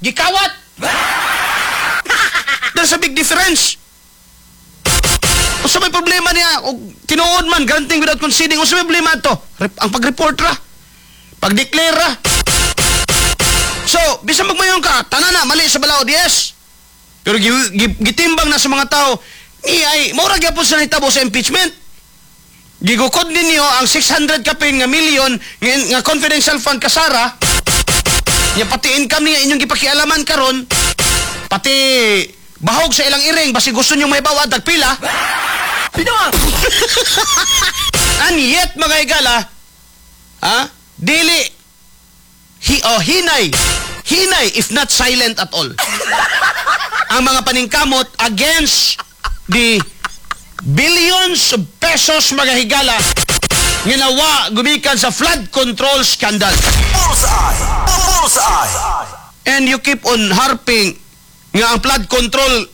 Gikawat. There's a big difference. Unsa may problema niya? Og tinuod man, granting without conceding, unsa may problema to? Ang pag-report ra. Pag-declare ra. So, bisan magmayon ka, tanan na, mali sa balaod, yes. Pero gitimbang na sa mga tao, ni ay, mura gyapon sa nahitabo sa impeachment. Gigukod ninyo ang 600 kapin nga million nga confidential fund kasara, nya pati income niya inyong gipakialaman karon, pati bahog sa ilang iring, basi gusto nyo may bawa, tagpila. And yet, mga higala, ha? Dili, oh, hinay, hinay, if not silent at all, ang mga paningkamot against the billions of pesos, mga higala, nga nawa gumikan sa flood control scandal. Bullseye! Bullseye! And you keep on harping nga ang flood control,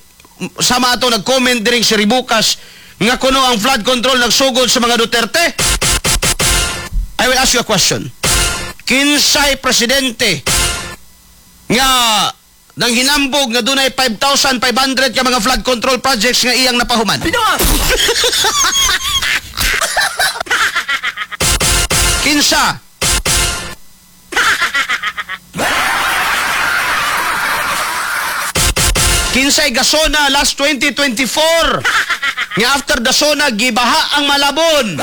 sama ato nag-comment diring si Ribukas nga kuno ang flood control nagsugod sa mga Duterte. I will ask you a question. Kinsay presidente nga nang hinambog nga dunay 5,500 ka mga flood control projects nga iyang napahuman? Kinsa? Kinsay gasona last 2024 nga after the SONA gibaha ang Malabon?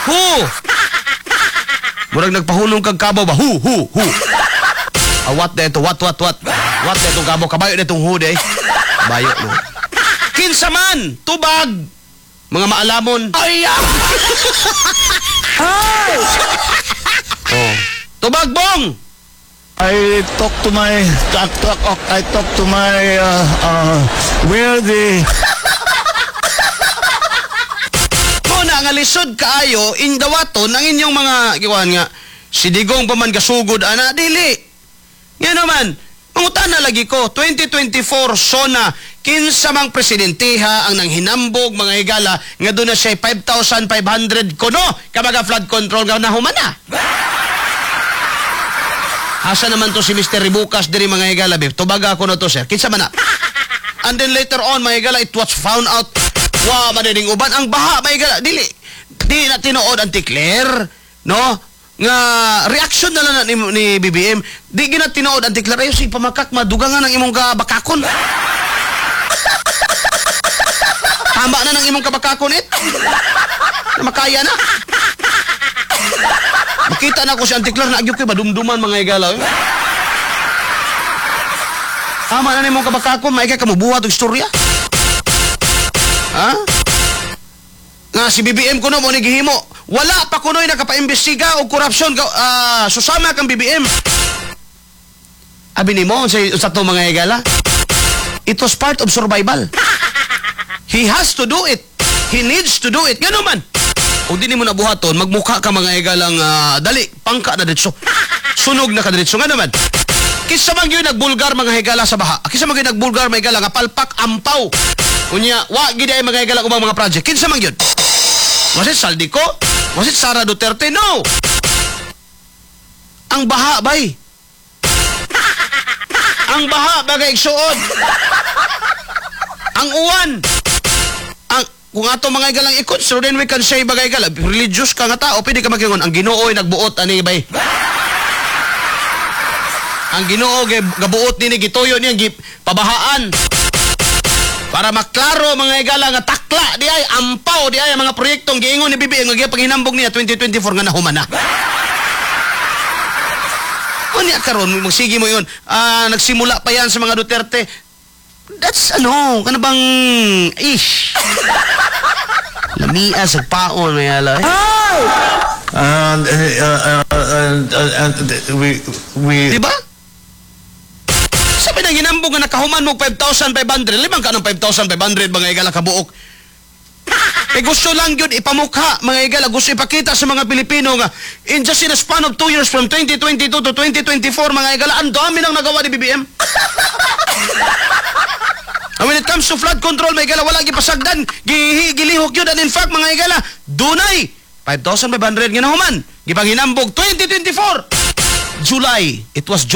Who? Murag nagpahulong kag kabaw ba? Hu, hu, hu. Ah, what na ito? What, what, what? What na itong kabaw? Kabayo na itong hu, day. Kabayo, no? Kinsa man, tubag, mga maalamon. Ay, ah! Oh. Tubag, bong! I talk to my talk, talk, I talk to my where the Muna nga lisod kaayo indawaton ang inyong mga giwan nga si Digong pa man gasugod ana, dili. Nga naman, mangutana lagi ko, 2024 SONA, kinsa mang presidenteha ang nanghinambog, mga higala, nga doon na siya 5,500 kuno kabaga flood control nga nahuman na? Asa naman to si Mr. Ribukas diri, mga higala, bib? Tubaga ko na to, sir. Kinsa man na? And then later on, mga higala, it was found out wa madining uban ang baha, mga higala, dili di na tinuod, Auntie Claire, no? Nga reaction na lang na ni BBM, di gina tinuod, Auntie Claire. Ayo si pamakak madugangan ang imong kabakakon. Tama na ng imong kabakakon it. Na makaya na. Makita na ko si Auntie Claire na agyok kay badumduman, mga higala, eh. Tama na nimong kabakakon, maigay ka mo buhat og istorya. Ha? Nga si BBM kuno mo ni gihimo. Wala pa kuno'y nakapaimbestiga og korupsyon susama kang BBM. Abi nimo sa to, mga higala. It was part of survival. He has to do it. He needs to do it. Gano man. Kung di nimo nabuhaton, magmukha ka, mga higalang, dali, pangka na diretso. Sunog na ka diretso. Nga naman. Kinsa man gyud nagbulgar, mga higala, sa baha? Kinsa man gyud nagbulgar, mga higala, nga palpak ampaw? Unya, wa gid ay, mga higala, ubang mga project. Kinsa man gyud? Was it Zaldy Co? Was it Sara Duterte? No. Ang baha bay. Ang baha bagay igsuon. Ang uwan. Ang kung ato, mga higalang, i-consider, then we can say, bagay higala, religious ka nga tao, pwede ka makingon, ang Ginoo ay nagbuot ani bay. Ang Ginoo gabuot nini, gituyo niya gi pabahaan. Para maklaro, mga higala, nga takla di ay ampaw di ay ang mga proyektong giingon ni BBM nga gipanghinambog niya 2024 nga nahuman na. Unya karon magsige mo yun. Ah, nagsimula pa yan sa mga Duterte. That's ano, kana bang ish. Lamia sa paon may ala. Eh. And we Di ba? Sabi na ginambog nga nakahuman mo 5,500, limang ka ng 5,500, mga higala, kabuok. Eh gusto lang yun ipamukha, mga higala, gusto ipakita sa mga Pilipino nga in a span of 2 years from 2022 to 2024, mga higala, ang dami nang nagawa ni BBM. And when it comes to flood control, mga higala, wala gipasagdan, gilihok yun, and in fact, mga higala, dunay 5,500 nga nahuman, gipanghinambog 2024 July, it was July.